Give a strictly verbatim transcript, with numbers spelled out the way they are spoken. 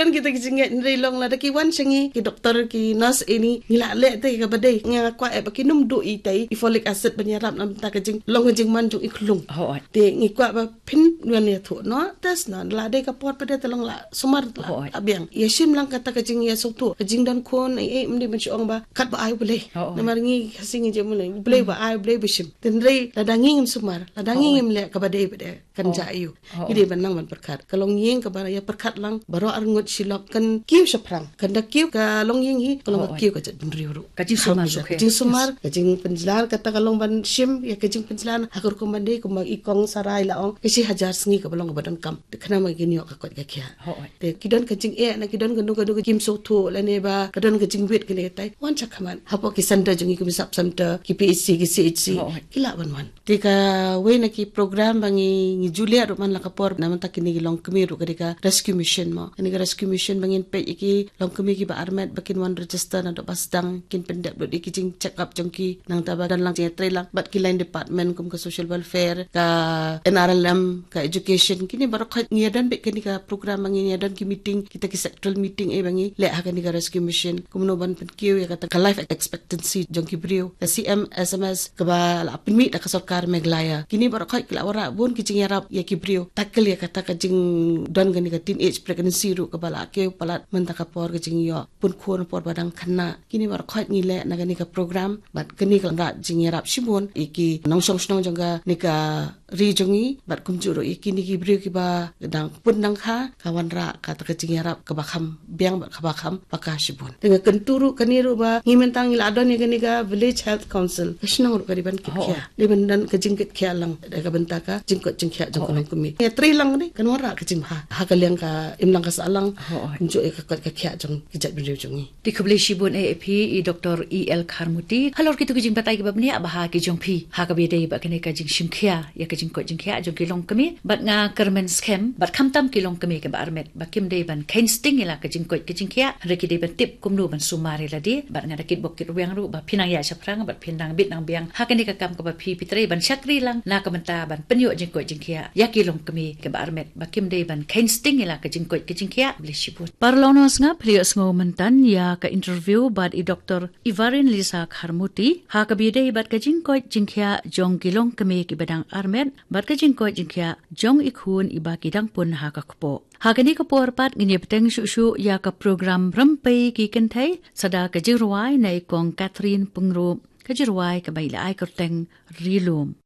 Kan kita ki jingeh nrei long lada ki wan sha ngi ki doktor ki nurse ini ngi la leh te kaba dei, nga kwah eh ba ki nym duh i tei i folic acid ban ïarap namar ka jing long ka jingman jong i khlung. Te ngi kwah ba phin wan ïathuh noh, test noh, la dei ka por pat de te long la sumar la biang. Ïa shim lang kata ka jingïasngewthuh, ka jingdon khun, eh, eh, mdei ban shu ong ba kat ba ai Blei. Namar ngi Khasi ngi jemule Blei ba ai, Blei ba shim. Te nrei lada ngi ngim sumar, lada ngi ngim leh kaba dei ba dei, kan ja ïa u. Ngi dei ban nang ban pyrkhat. Ka longïing kaba ïa pyrkhat lang baroh arngut shi lok, kan kiew shaphrang. Kan da kiew ka longïing hi, ka long ka kiew ka jaitbynriew ruh. Ka jingsumar, ka jingsumar, ka jingpynjlan, kata ka long ban shim ïa ka jingpynjlan ha ka rukom ban dei kumba i kong Sarai la ong, ka shi hajar sngi kaba long kaba donkam. Te khnang ba kin ïoh ka koit ka khiah. Te ki don ka jingeh na ki don ka dong ka dong ka jingim sngewthuh lane ba ka don ka jingwit kane katai, wan sha khmat hapoh ki center jong ngi, ki Mynsub Center, ki P H C, ki C H C. Ki lah ban wan. Te kawei na ki program ba ngi, ngi ju leh ruh man la ka por, namar kine ki longkmie ruh ka dei ka rescue mission mo. Kane ka rescue mission ba ngin peit ïa ki longkmie kiba armet ba kin wan register naduh ba sdang, kin pyndep lut ïa ki jing check up jong ki, nangta ba don lang jingïatreilang bad ki line department kum ka social welfare, ka N R L M, ka education, kine baroh khoit ngi ïadon beit kane ka program ba ngi ïadon ki meeting, kita ki sectoral meeting eh ba ngi leh ha kane ka rescue mission. Kumno ban pynkiew ïa kata ka life expectancy jong ki briew. Ka C M S M S kaba la pynmih da ka sorkar Meghalaya. Kine baroh khoit ki la wanrah bun ki jingïarap ïa ki briew. Tackle ïa kata ka jingdon kane ka teenage pregnancy ruh kaba la kiew palat mynta ka por ka jingïoh pun khun por ba dang khynnah. Kine baroh khoit ngi leh na kane ka program bad kane ka la wanrah jingïarap shibun ïa ki nongshong shnong jong kane ka ri jong ngi bad kumjuh ruh ïa kine ki briew kiba dang pun dang kha, ka wanrah kata ka jingïarap kaba kham biang bad kaba kham paka shibun. Te nga kyntu ruh kane ruh ba ngi mynta ngi la don ïa kane ka Village Health Council, ka shnong ruh ka dei ban kit khia, dei ban don ka jingkit khia lang da ka bynta ka jingkoit jingkhiah jong ka longkmie. Ïatreilang dei kan wanrah ka jingbha ha ka liang ka imlang ka sahlang, kumjuh ïa ka koit ka khiah jong ki jaitbynriew jong ngi. Te khublei shibun eh ïa phi i Doctor E L Kharmuti halor kito ki jingbatai kiba bniah bha ki jong phi ha kaba ïadei bad kane ka jingshim khia ïa ka jingkoit jingkhiah jong ki longkmie, bad nga kyrmen skhem bad khamtam ki longkmie kiba armet ba kim dei ban kheiñ sting ïa la ka jingkoit ka jingkhiah, hynrei ki dei ban tip kumno ban sumar ïa lade, bad nga da kitbok kitrwiang ruh ba phin nang ïaid shaphrang bad phin nang bit nang biang ha kane ka kam kaba phi phi trei ban shakri lang na ka bynta ban pynïoh jingkoit jingkhiah ïa ki longkmie kiba armet ba kim dei ban kheiñ sting ïa la ka jingkoit ka jingkhiah. Khublei shibun. Paralok nong sngap, phi la ïohsngew mynta ïa ka interview bad i Doctor Ivarin Lisa Kharmuti ha kaba ïadei bad ka jingkoit jingkhiah jong ki longkmie kiba dang armet bad ka jingkoit jingkhiah jong i khun iba ki dang pun ha ka kpoh. Ha kane ka por pat ngin ïa bteng shuh shuh ïa ka program Rympei ki Kynthei, sa da ka jingrwai na i Kong Catherine Pyngrope, ka jingrwai kaba ïa la ai kyrteng Ri Lum.